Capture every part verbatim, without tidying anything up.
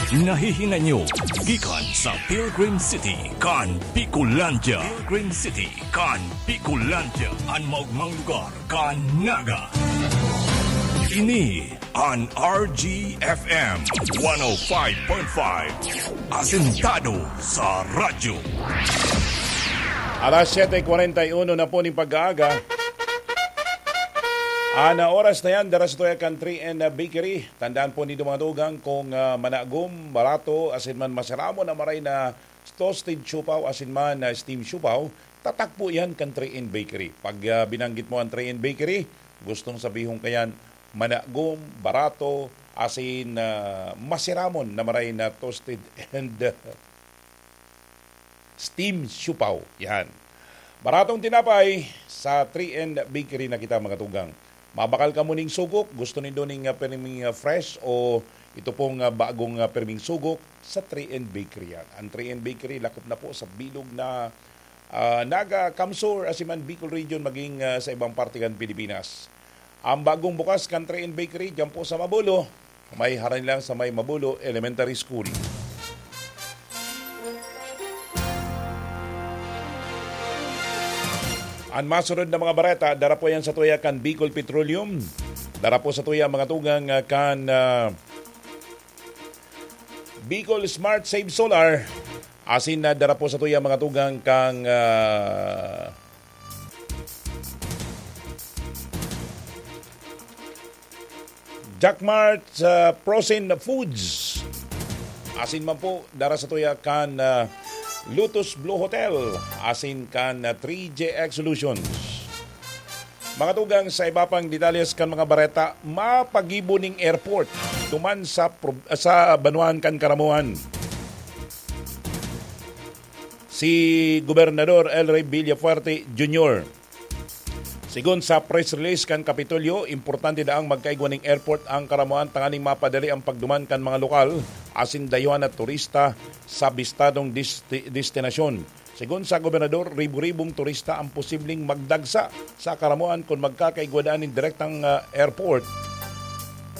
Nahihinanyo gikan sa Pilgrim City kan Bicolandia. Pilgrim City kan Bicolandia, an maogmang lugar kan Naga. Ini an R G F M one oh five point five, asentado sa radyo. Alas siyete kwarenta y uno na po ning pag-aaga. An oras na yan, dara sa tuya kan three N Bakery. Tandaan po nindo, mga tugang, kung, ah, managom, barato, asin man masiramon na maray na toasted siopaw, asin man na steam siopaw, tatak po yan kan three N Bakery. Pag, ah, binanggit mo ang three N Bakery, gustong sabihon ka yan, managom, barato, asin, ah, masiramon na maray na toasted and, ah, steam siopaw. Yan. Baratong tinapay sa three N Bakery na kita, mga tugang. Mabakal kamo ning sugok, gusto nindo ning, ah, pirming, ah, fresh o ito pong, ah, bagong, ah, pirming sugok sa three N Bakery yan. Ang three N Bakery lakop na po sa bilog na, ah, Naga, CamSur, asin man Bicol Region, maging, ah, sa ibang parte kan Pilipinas. Ang bagong bukas kan three N Bakery, diyan po sa Mabulo, may harani lang sa may Mabulo Elementary School. An masunod na mga bareta, dara po yan sa tuya kan Bicol Petroleum. Dara po sa tuya, mga tugang, ah, kan, ah, Bicol Smart Save Solar. Asin na dara po sa tuya, mga tugang, kang, ah, Jackmart, ah, Frozen Foods. Asin man po, dara sa tuya kan, ah, Lotus Blue Hotel. Asin kan, ah, three J X Solutions. Mga tugang, sa iba pang detalles kan mga bareta, mapagibo ning airport duman sa prob-, sa banwaan kan Caramoan. Si Gobernador El Rey Villafuerte Junior. Sigon sa press release kan Kapitolyo, importante daang magkaigwa ning airport ang Caramoan tanganing mapadali ang pagduman kan mga lokal asin dayuhan na turista sa bistadong desti-, destinasyon. Sigon sa gobernador, ribo-ribong turista ang posibleng magdagsa sa Caramoan kun magkakaigwa daa nin direktang, ah, airport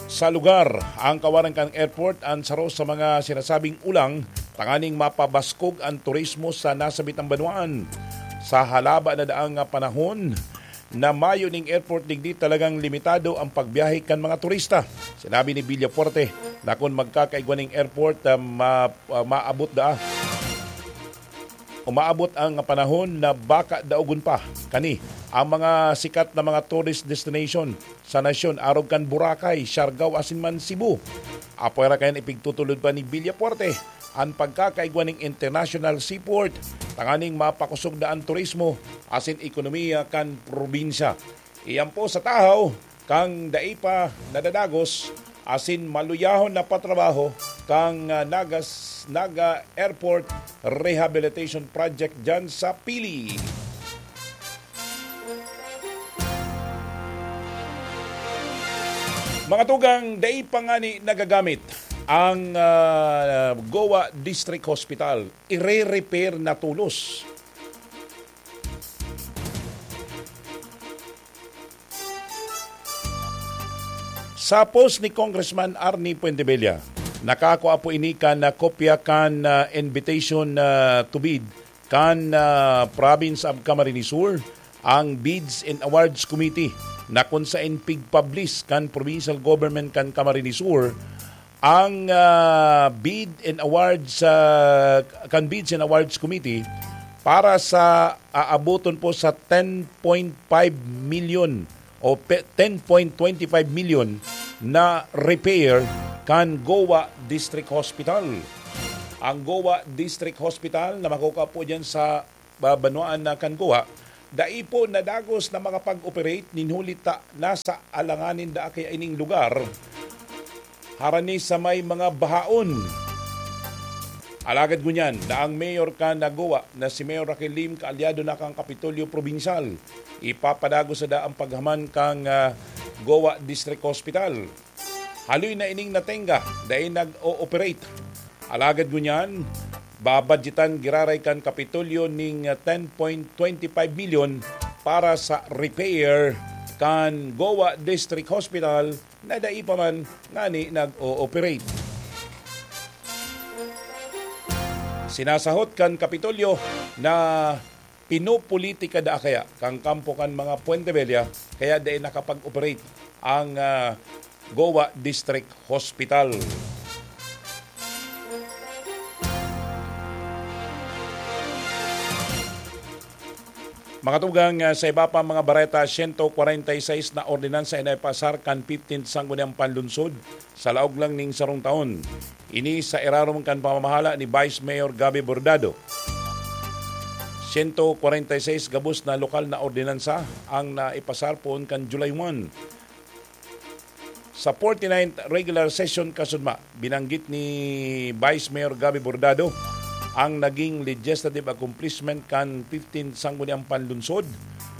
sa lugar. Ang kawaran kan airport an saro sa mga sinasabing ulang tanganing mapabaskog an turismo sa nasabitang banwaan. Sa halaba na daang, ah, panahon na mayo ning airport digdi, talagang limitado ang pagbiyahe kan mga turista. Sinabi ni Villafuerte na kun magkakaigwa ning airport, ah, ma-, ah, maabot daa umaabot ang panahon na baka daogon pa kani ang mga sikat na mga tourist destination sa nasyon, arog kan Boracay, Siargao asin man Cebu. Apwera kayan, ipigtutulod pa ni Villafuerte an pagkakaigwa ning international seaport tanganing mapakosog na an turismo asin ekonomiya kan probinsya. Iyan po sa tahaw kan dai pa nadadagos asin maluyahon na patrabaho kan, ah, Nagas-, Naga Airport Rehabilitation Project diyan sa Pili. Mga tugang, dai pa ngani nagagamit ang, ah, Goa District Hospital. Ire-repair na tolos. Sa post ni Congressman Arnie Fuentebella, nakakua po ini kan, ah, kopya kan, ah, invitation, ah, to bid kan, ah, Province of Camarines Sur, ang Bids and Awards Committee, na kun saen pig-publish kan provincial government kan Camarines Sur ang, ah, bid and awards, ah, kan Bids and Awards Committee para sa aaboton po sa ten point five million o pe-, ten point twenty five million na repair kan Goa District Hospital. Ang Goa District Hospital na makukua po diyan sa ba-, banwaan na kan Goa, dai po nadagos na makapag-operate nin huli ta nasa alanganin daa kaya ining lugar harani sa may mga bahaon. Alagad ngunyan na ang mayor kan Goa na si Mayor Raquel Lim kaalyado na kan Kapitolyo Probinsyal, ipapadagos na daa an paghaman kan, ah, Goa District Hospital. Haloy na ining natenga, dai nag-o-operate. Alagad ngunyan, babadyetan giraray kan Kapitolyo ning ten point twenty five million para sa repair kan Goa District Hospital na dai pa man ngani nag-o-operate. Sinasahot kan Kapitolyo na pinopolitika daa kaya kan kampo kan mga Puente Vella, kaya dai nakapag-operate ang, ah, Goa District Hospital. Mga tugang, ah, sa iba pa mga bareta, siyento kwarenta y seis na ordinansa an naipasar kan fifteenth Sangguniang Panlunsod sa laog lang ning sarong taon. Ini sa irarom kan pamamahala ni Vice Mayor Gabby Bordado. Siyento kwarenta y seis gabos na lokal na ordinansa ang naipasar poon kan July one. Sa forty-ninth regular session kasudma, binanggit ni Vice Mayor Gabby Bordado ang naging legislative accomplishment kan fifteenth Sangguniang Panlunsod,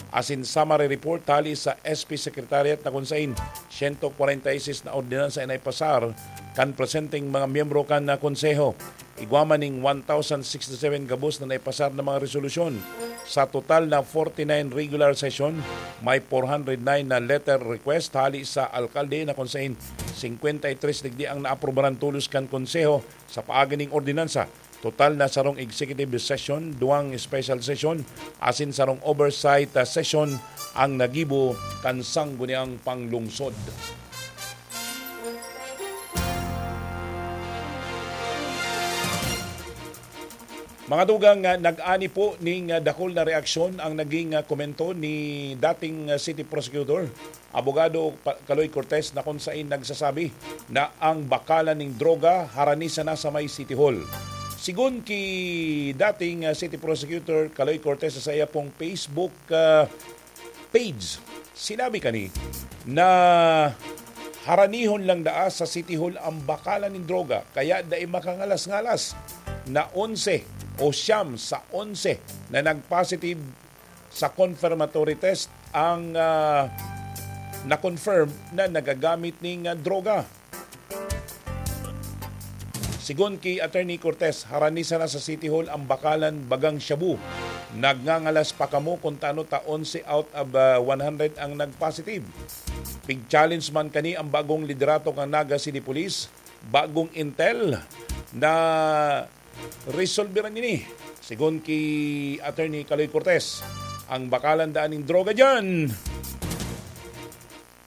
asin summary report hali sa S P Secretariat na kun sain siyento kwarenta y seis na ordinansa an naipasar kan presenteng mga miyembro kan, ah, Konseho. Igwa man ning one thousand sixty-seven gabos na naipasar na mga resolusyon. Sa total na forty-nine regular session, may four hundred nine na letter request hali sa alkalde na kun sain singkwenta y tres digdi ang naaprubaran tolos kan Konseho sa paagi ning ordinansa. Total na sarong executive session, duwang special session, asin sarong oversight, ah, session ang nagibo kan Sangguniang Panglungsod. Mga tugang, ah, nag-ani po ning, ah, dakul na reaksyon ang naging, ah, komento ni dating, ah, City Prosecutor, Abogado Pa-, Kaloy Cortez, na kun sain nagsasabi na ang bakalan ning droga harani sana sa may City Hall. Sigon ki dating, ah, City Prosecutor Kaloy Cortez sa saiya pong Facebook, ah, page. Sinabi kani na haranihon lang daa sa City Hall ang bakalan nin droga, kaya dai makangalas-ngalas na onse o siyam sa onse na nag-positive sa confirmatory test ang, ah, na-confirm na nagagamit ning, ah, droga. Sigon ki Attorney Cortez, harani sana sa City Hall ang bakalan bagang shabu. Nagngangalas pa kamo kun tano ta onse out of, ah, one hundred ang nag-positive. Pig-challenge man kani ang bagong liderato kan Naga City Police, bagong intel na resolveran ini. Sigon ki Attorney Kaloy Cortez, ang bakalan daan ning droga diyan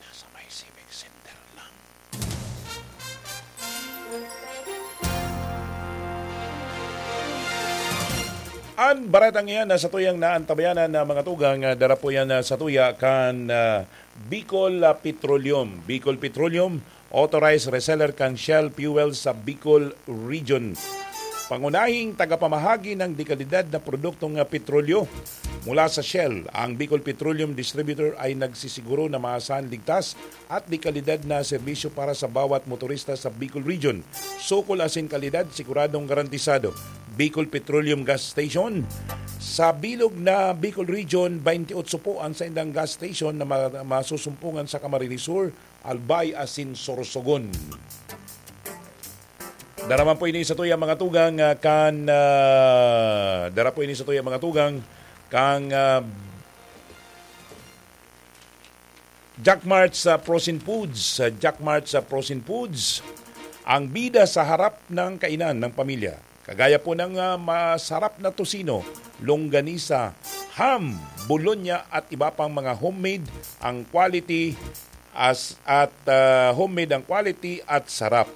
nasa may Civic Center lang. An baretang iyan na satuyang naantabayanan na mga tugang, ah, dara po yan, ah, satuya kan, ah, Bicol, ah, Petroleum. Bicol Petroleum, authorized reseller kan Shell Fuel sa Bicol Region. Pangunahing tagapamahagi ng dekalidad na produktong, ah, petrolyo mula sa Shell, ang Bicol Petroleum Distributor ay nagsisiguro na maasahan, ligtas at dekalidad na serbisyo para sa bawat motorista sa Bicol Region. Sukol asin kalidad, siguradong garantisado. Bicol Petroleum Gas Station. Sa bilog na Bicol Region, twenty-eight po ang saindang gas station na ma-, masusumpungan sa Camarines Sur, Albay asin Sorsogon. Dara man po ini satuya mga tugang, ah, kan, ah, dara po ini satuya mga tugang, kang, ah, Jack Mart sa Frozen Foods. Sa Jack Mart sa Frozen Foods, ang bida sa harap ng kainan ng pamilya. Kagaya po ng, ah, masarap na tocino, longganisa, ham, bologna at iba pang mga homemade ang quality as, at, ah, homemade ang quality at sarap.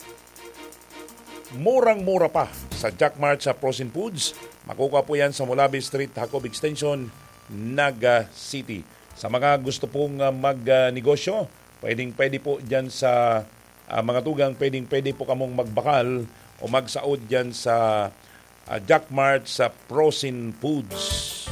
Murang-mura pa sa Jack Mart sa Frozen Foods. Makukuha po yan sa Mulabi Street, Jacob Extension, Naga City. Sa mga gusto pong, ah, mag, ah, negosyo, pwedeng-pwede po dyan sa, ah, mga tugang, pwedeng-pwede po kamong magbakal o magsaod dyan sa, ah, Jack Mart sa Frozen Foods.